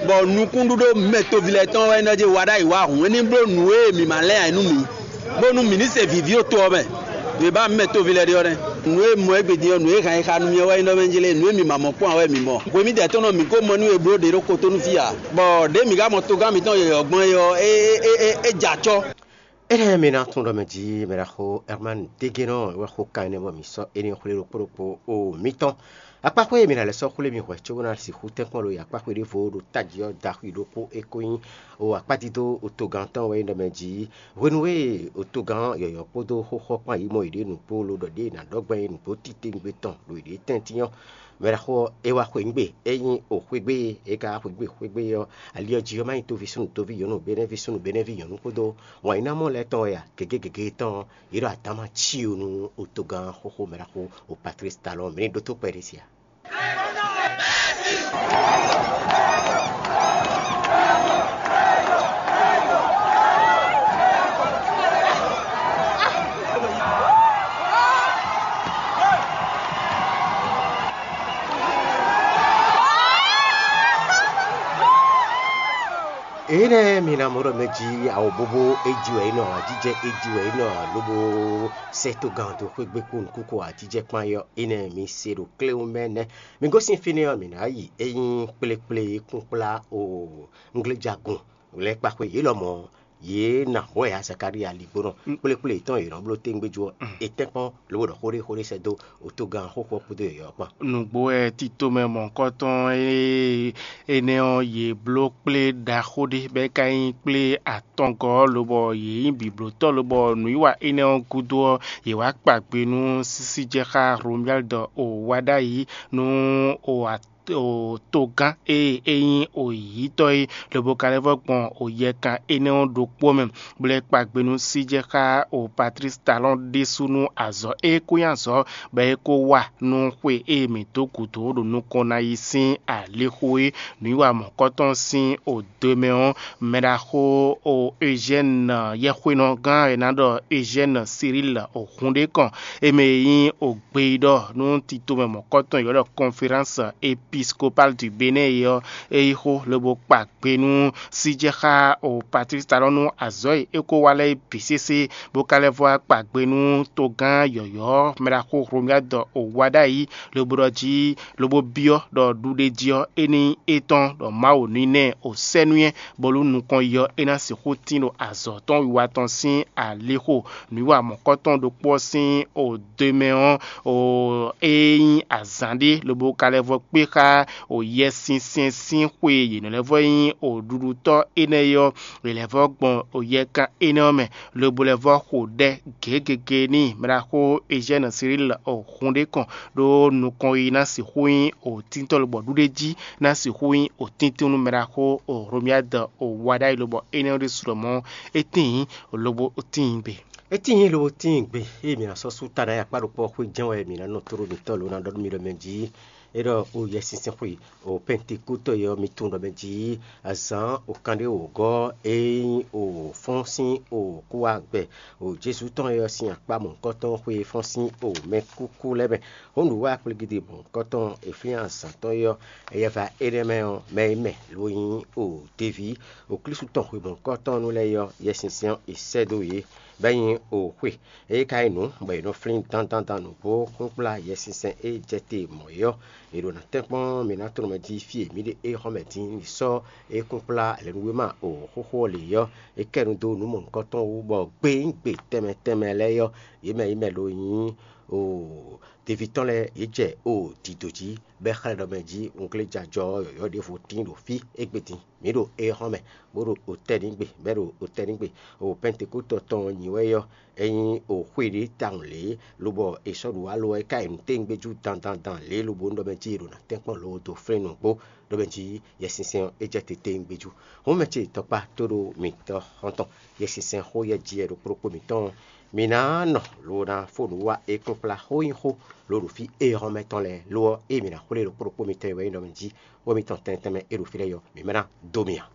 bɔ nukúnɖíɖó mɛ toví lɛ́ɛ tɔn wɛ é nɔ jɛ wa ɖ'ayǐ wá hǔn. É ní bló nǔ e mǐ ma lɛ́n ǎ é nú mǐ, bónú mǐ ní se vǐví ɖo to ɔ́ mɛ. Ɖě ba mǐ mɛ toví lɛ́ɛ ɖe ɔ́ nɛ́. Nǔ e mɔ égbé din ɔ́, nǔ e hǎn e xa nú mì ɔ́ wɛ nyí ɖɔ mɛ jlé, nǔ e mi ma mɔ kpɔ́n ǎ wɛ mi mɔ. Hwe mǐdɛɛ tɔn nɔ mǐ ko mɔ nú we bló ɖě ɖokpó tó nú fí ǎ, bɔ ɖěe mǐ ka mɔ togán mǐtɔn yɔ̌yɔ́ gbɔn é ɔ́, é é é é jɛ acɔ́. Énɛ́ mi ná tunwun ɖɔ mɛ jí mɛ ɖaxó Herman Dégénɔ wɛ xo kan énɛ́ bɔ mǐ sɔ́ énɛ́ xwlé ɖokpó ɖokpó o mǐtɔn. Akpáxwé e mǐ ná lɛ́ sɔ́ xwlé mi hwɛ̌ cóbó ná sixú tɛ́nkpɔ́n ɖo akpáxwé ɖěvo ɖo tají ɔ́ daxwi ɖokpó é ko nyí o akpádídó togán tɔn wɛ nyí ɖɔ mɛ jí hwenu e togán yɔ̌yɔ́ kpódó xóxɔ kpán yi mɔ yěɖée nǔgbó lo ɖɔ ɖěe è nǎ ɖɔ gbɛn é nǔgbó titewungbe tɔn ɖo yěɖée tɛ́ntin ɔ́, mɛ ɖaxó ɔ́, é wá xweyǐgbe. É nyí o xwé gbe e é ka wá xweyǐgbe xwé gbe ɔ́, ali ɔ́ jí ɔ́ má nyí toví súnnu toví nyɔ̌nu, benɛ́ví súnnu benɛ́ví nyɔ̌nu kpódó wǎnyínámɔ lɛ́ɛ tɔn wɛ a? Gěgé gěgé tɔn ɔ́, yě ɖo adǎma cí o nú o togán xóxó mɛ ɖaxó o Patlísi Talɔn. Mǐ ní ɖótó kpɛɖé sia. Énɛ́ mi ná mɔ ɖɔ mɛ jí awɔbobo é jí wɛ é nɔ ǎ, jijɛ é jí wɛ é nɔ ǎ, lobo sɛ́ togán dó xwé gbe kpó nukúnkún ǎ, jijɛ kpán é ɔ́, énɛ́ mi se ɖo kléwún mɛ nɛ́. Mi gosín fínɛ́ ɔ́, mǐ ná yi é nyí kplékplé kúnkplá o ngléjagun lɛ́ɛ kpa xwé yě lɔmɔ̌. Yě ná hwɛ ya Zakalía ligbónɔ kplékplé yětɔn e yě nɔ bló téngbéjú ɔ́, è tɛ́nkpɔ́n lobo ɖɔ xó ɖé xó ɖé sɛ́ dó otogán xóxó ɔ́ kpódó yɔ̌yɔ́ kpán. Nǔgbó wɛ tito mɛ mɔ̌hunkɔtɔn e énɛ́ ɔ́, yě bló kplé ɖaxó ɖé, bɔ é ka nyí kplé atɔngɔ́ ɔ́, lobɔ yě nyí bǐblótɔ́, lobɔ nǔwiwa énɛ́ ɔ́ gúdo ɔ́, yě wá kpa gbe nú sísíjɛxá Romyaldi o wá ɖ'ayǐ nú o togán e é nyí oyǐyítɔ́ é, lobo ka lɛ́ vɔ́ gbɔn oyɛkan énɛ́ ɔ́ ɖokpó mɛ, bó lɛ́ kpa gbe nú síjɛxá o Patlísi Talɔ́n ɖésú nú azɔ̌ e é ko nyí azɔ̌ bɔ é ko wa nú xwe e mǐ dó gǔdo ɖo nukɔn ná yi sín alixo é. Nǔwiwa mɔ̌kɔtɔn sín o do e mɛ ɔ́, mɛɖaxó o Eugène yɛxwénɔgán e ná ɖɔ Eugène Cyril o hun ɖé kɔn, é mɛ e nyí o gbeyíɖɔ nú titomɛ mɔ̌kɔtɔn e è ylɔ́ ɖɔ Conférence Épiscopale du Bénin é ɔ́, é yí xó lobo kpa gbe nú síjɛxá o Patlísi Talɔ́n nú azɔ̌ e é ko wa lɛ́ɛ é bǐ sésé, bó ka lɛ́ vɔ́ wá kpa gbe nú togán yɔ̌yɔ́ mɛɖaxó Hlomyád o wá ɖ'ayǐ, lobo ɖɔ jí lobo byɔ́ ɖɔ ɖuɖéjí ɔ́ é ní nyí étɔn, ɖɔ Mawu ní ná ɛ o sɛ́ nú nyɛ, bónú nukɔn yi ɔ́ é ná sixú tín ɖo azɔ̌ tɔn wiwa tɔn sín alixo. Nǔwiwa mɔ̌kɔtɔn ɖokpó ɔ́ sín o do e mɛ ɔ́, o é nyí azǎn ɖé, lobo ka lɛ́ vɔ́ kpé xá o Yɛsinsɛn sín xwe e yě nɔ lɛ́ vɔ́ nyí o ɖuɖutɔ́ énɛ́ é ɔ́, è lɛ́ vɔ́ gbɔn o yɛkan énɛ́ ɔ́ mɛ, lobo lɛ́ vɔ́ xo ɖɛ gěgege n'i. Mɛɖaxó Eugène Cyril o hun ɖé kɔn ɖó nukɔn yi ná sixú nyí o tíntɔ́n lobɔ ɖuɖéjí ná sixú nyí o tíntín nú mɛɖaxó o Hlomyád o wá ɖ'ayǐ lobɔ énɛ́ ɔ́ ɖésú lɔmɔ̌ é tíin lobo tíin gbe. É tíin lobo tíin gbe, ée mǐ ná sɔ́ sú ta ná yi akpá ɖokpó ɔ́ xwé jɛ́n wɛ mǐ ná nɔ tló mitɔ́ lo ná ɖɔ nú mi ɖɔ mɛ jí é ɖɔ o Yɛsinsɛn xwe o Pɛntekútɔ é ɔ́, mi tunwun ɖɔ mɛ jí azǎn o kanɖé wǒgɔ́ e nyí o fɔ́n sín o kúwágbɛ o Jezu tɔn é ɔ́ sín akpá mɔ̌hunkɔtɔn xwe e fɔ́n sín o mɛkúkú lɛ́ɛ mɛ. Hǒnǔ wá kplígídi mɔ̌hunkɔtɔn e flín azǎn tɔn é ɔ́, éyɛ́ vá énɛ́ mɛ ɔ́, mɛ e mɛ lo nyí o deví o Klísu tɔn xwe mɔ̌hunkɔtɔn nú lɛ́ɛ é ɔ́, Yɛsinsɛn ɔ́ è sɛ́ dó yě, bɔ é nyí o xwe. É ka nyí nǔ bɔ è nɔ flín dandandan nǔgbó kplɔ́nkplɔ́n Yɛsinsɛn e jɛ te mɔ̌ é ɔ́, È ɖo ná tɛ́nkpɔ́n mǐ ná tlɔ́n mɛ jí fí e mǐ ɖe é xɔ́ mɛ din ní sɔ́ é kún kplá lɛ̌núwéma o xóxó ɔ́ lě ɔ́, é kɛ nu dó nǔ mɔ̌hunkɔtɔn wú, bɔ gbeyígbe tɛnmɛ tɛnmɛ lɛ́ɛ ɔ́, yě mɛ yě mɛ ɖo nyí o deví tɔn lɛ́ɛ yě jɛ o dǐdó jí, bɔ é xlɛ́ ɖɔ mɛ jí unglé jajɔ ɔ́ yɔ̌yɔ́ ɖěvo tín ɖo fí égbé din. Mǐ ɖo éhɔ́n mɛ, bó ɖo otɛ́ ní gbe, bɔ é ɖo otɛ́ ní gbe. O Pɛntekótɔ tɔn ɔ́ nyi wɛ ɔ́, é nyí o xwé ɖé tawun lě, lobɔ è sɔ́ ɖu alɔ ɔ́, é ka yi nǔ tɛ́ngbéjú dandandan lě, lobo un ɖɔ mɛ jí è ɖo ná tɛ́nkpɔ́n loo dó flín nǔgbó, ɖɔ mɛ jí Yɛsinsɛn ɔ́ é jɛ te tɛ́ngbéjú. Hɔn mɛ ce tɔkpá tó ɖo mǐtɔn xɔ́ntɔn, Yɛsinsɛn xó yɛ jí wɛ ɖo kplɔ́kpó mǐtɔn ɔ́, mǐ ná nɔ lo ná fó nǔ wá é kpɔ́n kplá xó nyí xó lo ɖo fí éhɔ́n mɛ tɔn lɛ́ɛ, lo ɔ́, ée mǐ ná xwlé ɖo kplɔ́kpó mǐtɔn e wɛ nyí ɖɔ mɛ jí xó mǐtɔn tɛnmɛ tɛnmɛ e ɖo fí lɛ́ɛ ɔ́, mǐ mɛ ná dó mì ǎ.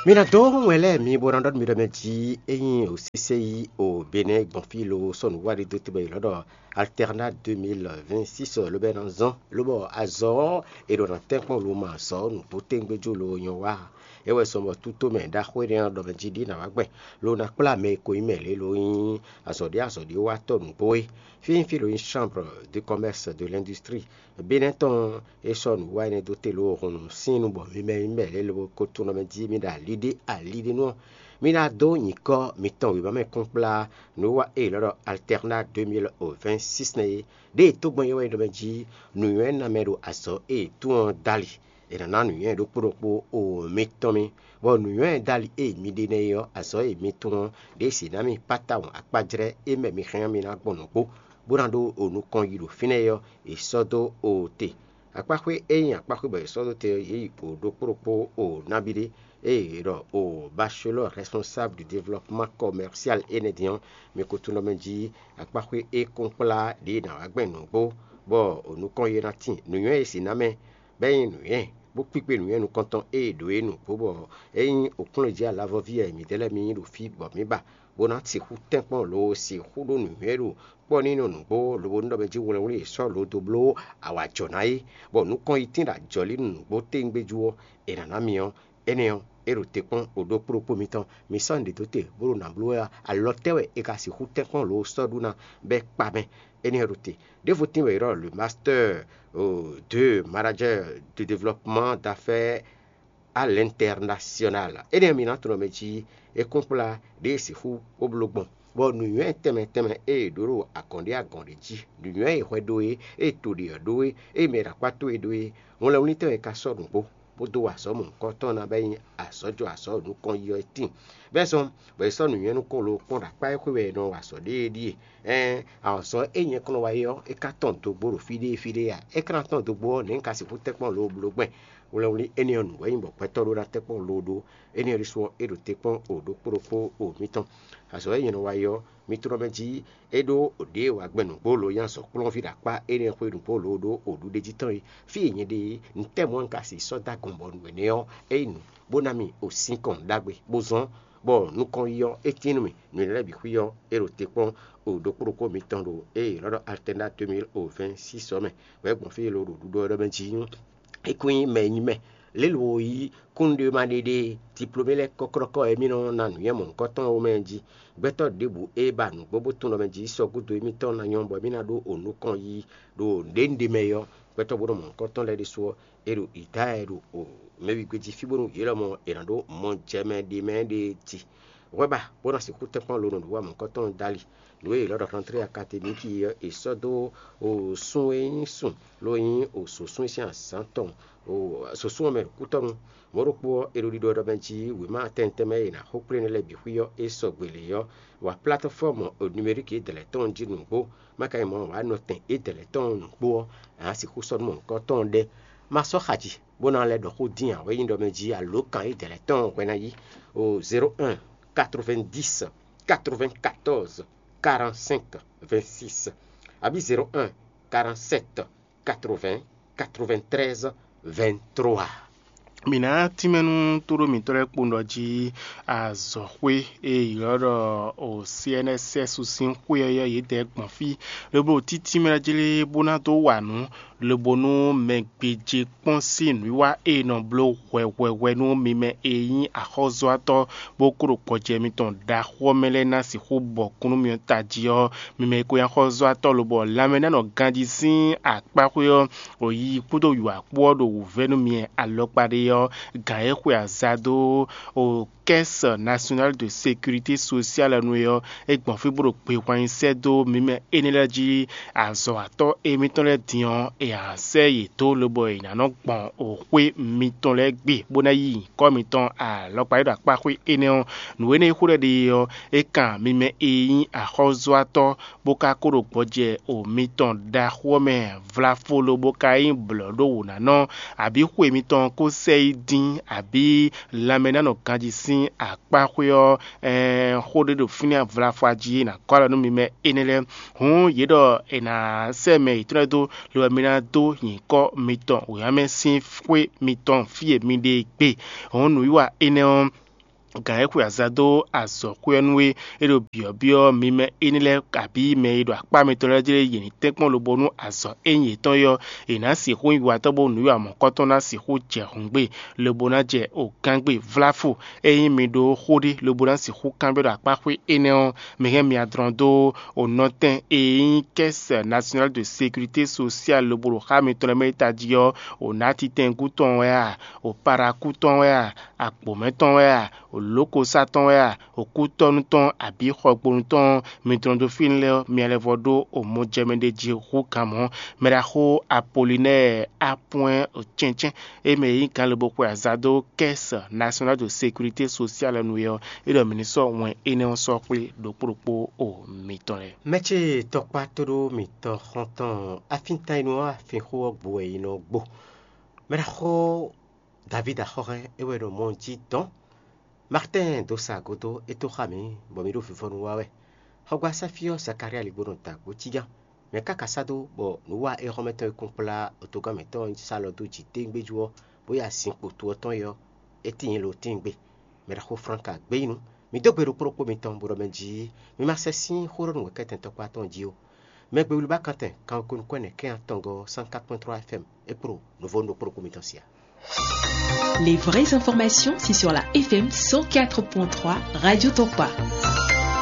Mi ná dó wɛn lɛ́ɛ mi bó ná ɖɔ nú mi ɖɔ mɛ jí ényí o sésé yí o Benɛ́ gbɔn fí lo sɔ́ nǔ wá ɖi dó tɛgbɛ yě lɔ́ ɖɔ Alternat deux mille vingt-six lobɛ ná zɔ́n, lobɔ azɔ̌ ɔ́ è ɖo ná tɛ́nkpɔ́n lo ma azɔ̌ nǔgbó tɛ́ngbéjú lo nyɔ wá. É wɛ zɔn bɔ tútómɛ ɖaxó énɛ́ ɔ́ ɖɔ mɛ jí ɖí nǎ wá gbɛn lo ná kplá mɛ e ko nyí mɛ lě lo nyí azɔ̌ ɖé azɔ̌ ɖé watɔ́ nǔgbó é. Fí nyí fí lo nyí Chambre de Commerce de l'Industrie Benɛ́ tɔn é sɔ́ nǔwiwa énɛ́ dó te lo hun nǔ sín nu bɔ mi mɛ nyí mɛ lě lobo ko tunwun mɛ jí mi ɖo ali ɖé ali ɖé nu ɔ́, mi ná dó nyǐkɔ mitɔn wěma mɛ kpɔ́n kplá nǔwiwa e è lɔ́ ɖɔ Alternat deux mille vingt-six nɛ́ é. Ɖěe tógbɛ́n é wɛ nyí ɖɔ mɛ jí nǔnywɛ́ ná mɛ ɖo azɔ̌ e è tunwun ɔ́ dali. È nǎ ná nǔnywɛ́ ɖokpó ɖokpó o mitɔn mì, bɔ nǔnywɛ́ dali e mi ɖe nɛ́ é ɔ́, azɔ̌ e mi tunwun ɔ́, ɖě si ná mi kpá tawun akpájlɛ́ e mɛ mi hɛn ɔ́, mi ná gbɔn nǔgbó, bó ná ɖó o nukɔn yi ɖo fínɛ́ é ɔ́, è sɔ́ dó o te. Akpáxwé e nyí akpáxwé bɔ è sɔ́ dó te ɔ́, yě yi o ɖokpó ɖokpó o nabí ɖé, ée è ɖɔ o bachelor responsable du développement commercial énɛ́ din ɔ́, mi ko tunwun ɖɔ mɛ jí akpáxwé e kɔn kplá ɖě ná wá gbɛn nǔgbó, bɔ o nukɔn yi ná tíin nǔnywɛ́ e si ná mɛ, bɔ é nyí nǔnywɛ́, bó kpíkpé nǔnywɛ́ nukɔntɔn e è ɖǒ é nǔgbó, bɔ é nyí òkúnlɔ́ jí alavɔví wɛ mǐdɛɛ lɛ́ɛ mi nyí ɖo fí bɔ mǐ ba, bó ná sixú tɛ́nkpɔ́n lo sixú ɖó nǔnywɛ́ ɖo kpɔ́ ní nɔ nǔgbó lobo ní ɖɔ mɛ jí wlɛnwlí e sɔ́ lo dó bló awǎjɔ́ ná é, bɔ nukɔn yi tín ɖo ajɔ̌lí nú nǔgbó téngbéjú ɔ́, è nǎ ná mi ɔ́, énɛ́ ɔ́, é ɖo te kpɔ́n o ɖó kplɔ́kpó mitɔn. Mi sɔ́ nǔɖé dó te bó ɖo nǎ bló wɛ ɔ́, alɔ tɛ́ wɛ è ka sixú tɛ́nkpɔ́n lo sɔ́ ɖu ná bɔ é kpa mɛ? Énɛ́ ɔ́ ɖo te. Ɖěvo tín wɛ è ɖɔ le master de manager de développement d'affaires à l'international. Énɛ́ ɔ́, mi ná tunwun mɛ jí é kún kplá ɖě e sixú bó bló gbɔn, bɔ nǔnywɛ́ tɛnmɛ tɛnmɛ e è ɖǒ ɖo agɔ̌n ɖé agɔ̌n ɖé jí, nǔnywɛ́ e hwɛ ɖó é, e to ɖě ɔ́ ɖó é, e mɛ ɖo akpá towe ɖó é, wlɛnwlítɔ́ e ka sɔ́ nǔgbó, bó dó wa azɔ̌ mɔ̌hunkɔtɔn ná bɔ é nyí azɔ̌ jɔ azɔ̌ nukɔn yi ɔ́ tíin. Bɛ́ zɔn bɔ è sɔ́ nǔnywɛ́ nukɔn lo kpɔ́n ɖo akpá e xwé wɛ è nɔ wa azɔ̌ ɖe é ɖíe. Ɛɛn, azɔ̌ e nyɛ kɔn nɔ wa é ɔ́, é ka tɔn dogbo ɖo fí ɖé fí ɖé a? É ka ná tɔn dogbo ɔ́, nɛ̌ un ka sixú tɛ́nkpɔ́n lo bló gbɛn? Wlɛnwlí énɛ́ ɔ́ nǔ wɛ nyí bɔ gbɛtɔ́ ɖó ná tɛ́nkpɔ́n lo ɖó. Énɛ́ ɔ́ ɖésú ɔ́, é ɖo te kpɔ́n o ɖokpó ɖokpó o mitɔn. Azɔ̌ e nyɛ nɔ wa é ɔ́, mi tlɔ́ mɛ jí é ɖó ɖěe wa gbɛn nǔgbó lo nyí azɔ̌kplɔ́nví ɖo akpá énɛ́ xwé nǔgbó lo ɖó o ɖuɖéjí tɔn é. Fí e nyɛ ɖe é, nǔtɛ́ mɔ̌ un ka sixú sɔ́ dó agɔn bɔ nǔ énɛ́ ɔ́, é nyí nǔ bó ná mi o sinkɔn ɖagbe, bó zɔ́n bɔ nukɔn yi ɔ́, é tín nú mì. Nǔ énɛ́ lɛ́ɛ bǐ xwí ɔ́, é ɖo te kpɔ́n o ɖokpó ɖokpó mitɔn ɖo ée è nɔ ɖɔ Alternat deux mille vingt-six ɔ́ mɛ, bɔ é gbɔn fí e lo ɖo ɖuɖɔ ɔ́ ɖɔ mɛ jí é kún nyí mɛ e nyí mɛ. Lě lo yí kúnnuɖémaɖéɖé diplomé lɛ́ɛ kɔ́klɔ́kɔ́ e mì nɔ ná nǔnywɛ́ mɔ̌hunkɔtɔn ɔ́ mɛ jí. Gbɛtɔ́ ɖěbǔ e ba nǔgbó bó tunwun ɖɔ mɛ jí sɔ́ gúdo émítɔn ná nyɔ́ bɔ émí ná ɖó o nukɔn yí ɖo nǔɖé ɖé mɛ é ɔ́, gbɛtɔ́ bó nɔ mɔ̌hunkɔtɔn lɛ́ɛ ɖésú ɔ́, è ɖo Idaɛ ɖo o mɛwígbé jí fí bónú yě lɔmɔ̌ è nǎ ɖó mɔjɛmɛ ɖé mɛ ɖé ti. Hwɛ ba bó ná sixú tɛ́nkpɔ́n lo nɔ ɖo wá mɔ̌hunkɔtɔn dali. Nǔ e è lɔ́ ɖɔ Rentrée académique ɔ́, è sɔ́ dó o sun e nyí sun lo nyí o sǒsún sín azǎn tɔn o sǒsún ɔ́ mɛ ɖo kútɔ́nu. Mɔ̌ ɖokpó ɔ́, è ɖo ɖiɖɔ ɖɔ mɛ jí wěma tɛntɛn mɛ e è nǎ xo kplé énɛ́ lɛ́ɛ bǐ xwí ɔ́, é sɔgbe lě ɔ́, wa plateforme numérique e dɛ̌lɛ̌ tɔn jí nǔgbó, má ka nyí mɔ̌ ǎ, wǎ nɔtɛn e dɛ̌lɛ̌ tɔn nǔgbó ɔ́, a nǎ sixú sɔ́ nú mɔ̌hunkɔtɔn ɖɛ́. Má sɔ́ xa jí bó ná lɛ́ ɖɔ xó dín ǎ, wɛ nyí ɖɔ mɛ jí alǒkan e dɛ̌lɛ̌ tɔn hwɛ ná yí o zéro un quatre-vingt-dix quatre-vingt-quatorze quarante-cinq vingt-six, abǐ zéro un quarante-sept quatre-vingts quatre-vingt-treize vingt-trois. Mǐ ná tínmɛ nú tóɖó mǐtɔn lɛ́ɛ kpowun ɖɔ jí azɔ̌xwé e ylɔ́ ɖɔ o C N S S sín xwé ɔ́ yɔ́ yědɛɛ gbɔn fí, lobo títínmɛ jí lé bó ná dó wa nǔ lobo nú mɛ gbéjé kpɔ́n sín nǔwiwa e nɔ bló hwɛhwɛhwɛ nú mi mɛ e nyí axɔ́zɔ́watɔ́ bó kó ɖo gbɔjɛ mitɔn ɖaxó ɔ́ mɛ lɛ́ɛ ná sixú bɔ kún nú mi ɔ́ tají ɔ́, mi mɛ e ko nyí axɔ́zɔ́watɔ́ lobɔ lanmɛ ná nɔ ganjí sín akpáxwé ɔ́, o yi kpódó wǐwá kpó ɔ́ ɖo wǔvɛ́ nú mi alɔkpa ɖé ɔ́, gǎn e xwe aza dó o Caisse Nationale de Sécurité Sociale nu é ɔ́, é gbɔn fí bó ɖo gbehwan nyi sɛ́ dó mǐ mɛ énɛ́ lɛ́ɛ jí. Azɔ̌watɔ́ émítɔn lɛ́ɛ din ɔ́, è nǎ sɛ́ yě dó lobɔ è nǎ nɔ gbɔn xwé mitɔn lɛ́ɛ gbe bó ná yí nyǐkɔ mitɔn alɔkpa e ɖo akpá xwé énɛ́ ɔ́. Nǔ énɛ́ e xó lɛ́ɛ ɖe ɔ́, é kan mi mɛ e nyí axɔ́zɔ́watɔ́ bó ka kó ɖo gbɔjɛ o mitɔn ɖaxó ɔ́ mɛ vlafolo bó ka nyí blɔ̌ɖówǔnánɔ, abǐ xwe mitɔn ko sɛ yi dín, abǐ lanmɛ ná nɔ ganjí sín akpáxwé ɔ́, ɛɛn, xó ɖé ɖo fínɛ́ vlafɔ jí e nǎ gɔ́ alɔ nú mi mɛ énɛ́ lɛ́ɛ. Hǔn yě ɖɔ è nǎ sɛ́ mɛ yětɔn lɛ́ɛ dó, lobo mi ná dó nyǐkɔ mitɔn wěma mɛ sín xwé mitɔn fí e mi ɖe e gbe. Hǔn nǔwiwa énɛ́ ɔ́, gǎn e xwe aza dó azɔ̌xwé ɔ́ nú é, é ɖo byɔ̌byɔ́ mi mɛ énɛ́ lɛ́ɛ abǐ mɛ e ɖo akpá mitɔn lɛ́ɛ jí lɛ́ɛ yě ní tɛ́nkpɔ́n lobo nú azɔ̌ e nyí yětɔn é ɔ́, è nǎ sixú nyi watɔ́ bónú nǔwiwa mɔ̌kɔtɔn ná sixú jɛ hǔn gbe, lobo ná jɛ ogán gbe. Vláfo, ényí mi ɖó xó ɖé lobo ná sixú kanbyɔ́ ɖo akpá xwé énɛ́ ɔ́, mi hɛn mi adrɔn dó o nɔtɛn e nyí Caisse Nationale de Sécurité Sociale lobo ɖo xá mitɔn lɛ́ɛ mɛ e tají ɔ́, o nǎtitɛngú tɔn wɛ a, o parakú tɔn wɛ a, agbǒmɛ tɔn wɛ a, o lǒkosá tɔn wɛ a, o kútɔ́nú tɔn abǐ xɔgbonu tɔn, mi dlɔn dó fínɛ́ lɛ́ɛ ɔ́, mi lɛ́ vɔ ɖó o mɔjɛmɛ ɖé jí hú kan mɔ̌. Mɛɖaxó Apolinɛ́ɛ Apwɛ́n o cɛ́ncɛ́n, é mɛ e nyí ganlebo xwe aza dó Caisse Nationale de Sécurité Sociale nu é ɔ́, é ɖɔ mǐ ní sɔ́ wɛn énɛ́ ɔ́ sɔ́ xwlé ɖokpó ɖokpó o mitɔn lɛ́ɛ. Mɛ ce tɔkpá tóɖó mitɔn xɔ́ntɔn afíntanyinu ɔ́ afínxó ɔ́ gbo wɛ è nɔ gbo. Mɛɖaxó Davídi axɔ́hɛn é wɛ ɖo mɔ jí dɔn. Martɛ́n dó sa gǒdó é tó xá mǐ, bɔ mǐ ɖo vivɔnu wa wɛ. Xɔgbasá fí ɔ́ Zakalía lí bó nɔ da gǒ cí gán. Mɛ̌ ká ka sá dó bɔ nǔwa éhɔ́mɛ tɔn e kún kplá otogán mǐtɔn ɔ́ sa alɔ dó jǐ tégbéjú ɔ́, bó yi azinkpo to ɔ́ tɔn é ɔ́, é tíin lo tíin gbe? Mɛ ɖaxó Flánka gbé yi nu. Mǐ dó gbe ɖokpó ɖokpó mitɔn, bó ɖɔ mɛ jí mi ma sɛ sín xó ɖɔ nú wěkɛ́tɛn tɔkpá tɔn jí ó. Mɛ gbe wlí ba kantɛn kanwekwe nukɔn ɛnɛ kɛ́n atɔngɔ́ cent quatre point trois F M é kpo ɖo nǔvó ɖokpó ɖokpó mitɔn sí a? Les vraies informations, c'est sur la F M cent quatre point trois Radio Tokpa.